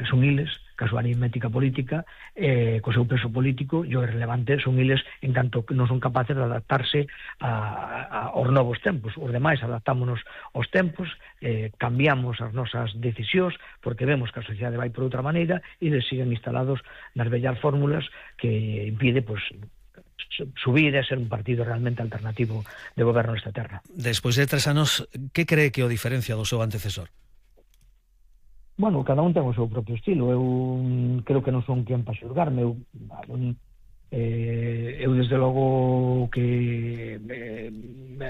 son iles, ca súa aritmética política, co seu peso político, e o relevante son iles en canto que non son capaces de adaptarse aos novos tempos. Os demais adaptámonos aos tempos, cambiamos as nosas decisións, porque vemos que a sociedade vai por outra maneira, e eles siguen instalados nas vellas fórmulas que impide, pois, subir e ser un partido realmente alternativo de goberno nesta terra. Despois de 3 anos, que cree que o diferencia do seu antecesor? Bueno, cada un ten o seu propio estilo. Eu creo que non son quen para xulgarme. Eu desde logo que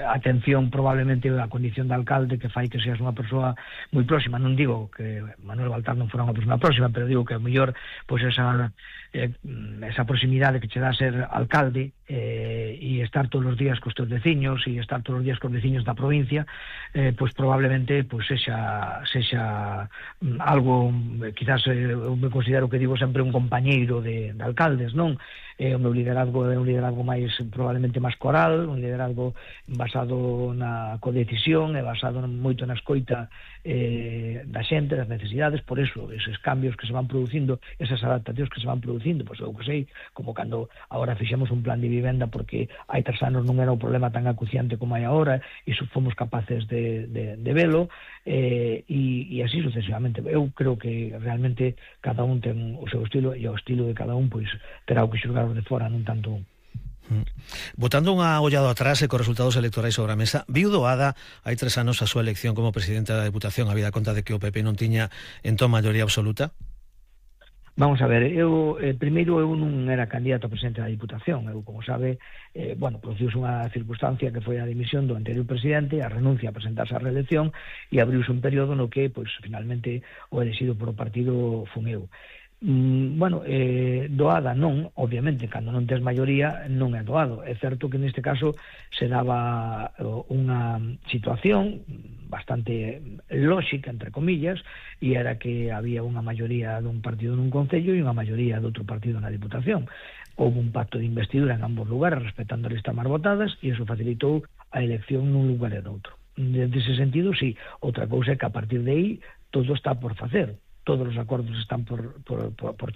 atención probablemente a condición de alcalde que fai que seas unha persoa moi próxima. Non digo que Manuel Baltar non fora unha persoa próxima, pero digo que a mellor pois esa proximidade que che dá ser alcalde e estar todos os días cos teus veciños e estar todos os días cos veciños da provincia, pois probablemente pois sexa algo, quizás eu me considero que digo sempre un compañeiro de alcaldes, non? O meu liderazgo é un liderazgo máis probablemente máis coral, un liderazgo basado na codecisión e basado moito na escoita da xente, das necesidades. Por eso, eses cambios que se van producindo, esas adaptacións que se van producindo, pois eu que sei, como cando agora fixemos un plan de vivenda porque hai 3 anos non era un problema tan acuciante como hai agora, e fomos capaces de velo, e así sucesivamente. Eu creo que realmente cada un ten o seu estilo, e o estilo de cada un pois terá o que xulgar de fora, non tanto un. Botando unha ollada atrás e cos resultados electorais sobre a mesa, viu doada hai 3 anos a súa elección como presidente da Deputación, habida conta de que o PP non tiña entón maioría absoluta? Vamos a ver, primeiro eu non era candidato a presidente da Diputación. Eu, como sabe, produciuse unha circunstancia que foi a dimisión do anterior presidente, a renuncia a presentarse á reelección, e abriuse un período no que, pois, finalmente, o elegido por o partido fun eu. Doada non, obviamente, cando non tes maioría non é doado. É certo que neste caso se daba unha situación bastante lóxica, entre comillas, e era que había unha maioría dun partido nun concello e unha maioría de outro partido na Diputación. Houve un pacto de investidura en ambos lugares respetando as listas máis votadas, e iso facilitou a elección nun lugar e noutro. Nese sentido, sí. Outra cousa é que a partir de aí todo está por facer. Todos os acordos están por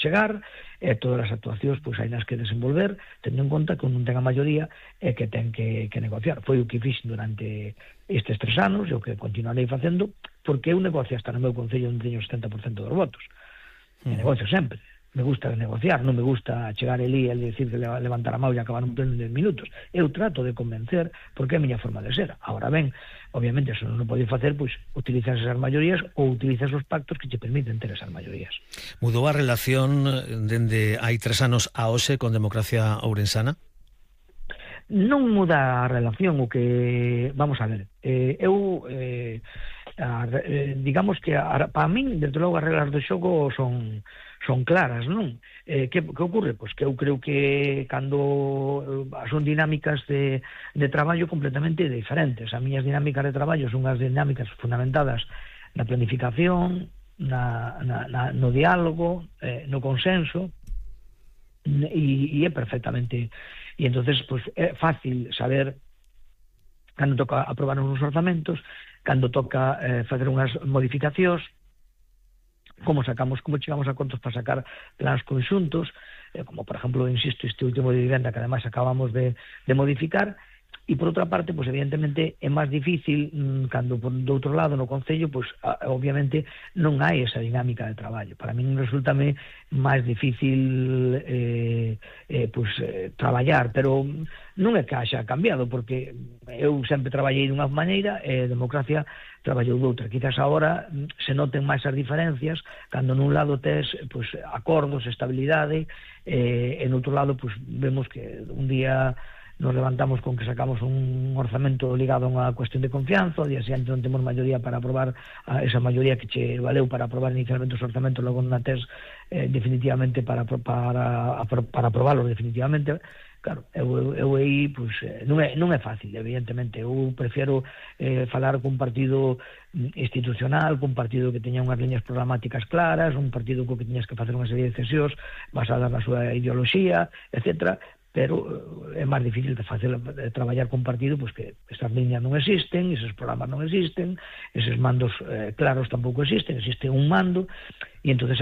chegar, e todas as actuacións pois hai nas que desenvolver, tendo en conta que non ten a maioría e que ten que negociar. Foi o que fixen durante estes 3 anos, e o que continuarei facendo, porque eu negocio hasta no meu concello onde teño o 70% dos votos. E negocio sempre. Me gusta negociar, non me gusta chegar ali e decir que levantar a mão e acabar un pleno en 10 minutos. Eu trato de convencer, porque é a miña forma de ser. Ahora ben, obviamente, se non o podes facer, pois utilizas esas maiorías ou utilizas os pactos que te permiten ter esas maiorías. Mudou a relación dende hai 3 anos a hoxe con Democracia Ourensana? Non muda a relación, o que... Vamos a ver, digamos que para min, desde logo, as reglas do xogo son claras, non? Que ocorre? Pois que eu creo que cando son dinámicas de traballo completamente diferentes. As miñas dinámicas de traballo son unhas dinámicas fundamentadas na planificación, no diálogo, no consenso, e é perfectamente... E entonces, pois, é fácil saber cando toca aprobar uns orzamentos, cando toca facer unhas modificacións, como chegamos a acordos para sacar planos conxuntos, como, por exemplo, insisto, este último de vivenda que ademais acabamos de modificar. E por outra parte, pois evidentemente é máis difícil cando do outro lado no concello, pois obviamente non hai esa dinámica de traballo. Para min resultame máis difícil traballar, pero non é que haxa cambiado, porque eu sempre traballei dunha maneira e Democracia traballou doutra. Quizás agora se noten máis as diferencias cando nun lado tes pois acordos, estabilidade, e no outro lado pois vemos que un día nos levantamos con que sacamos un orzamento ligado a unha cuestión de confianza, o día seguinte non temos maioría para aprobar esa maioría que che valeu para aprobar inicialmente os orzamentos, logo non a tes definitivamente para aprobarlos definitivamente. Claro, eu aí pois, non é fácil, evidentemente. Eu prefiero falar cun partido institucional, cun partido que teña unhas liñas programáticas claras, un partido co que teñas que facer unha serie de decisións basadas na súa ideoloxía, etcétera, pero é máis difícil de traballar con partido pois que esas liñas non existen, esos programas non existen, eses mandos claros tampouco existen, existe un mando, e entonces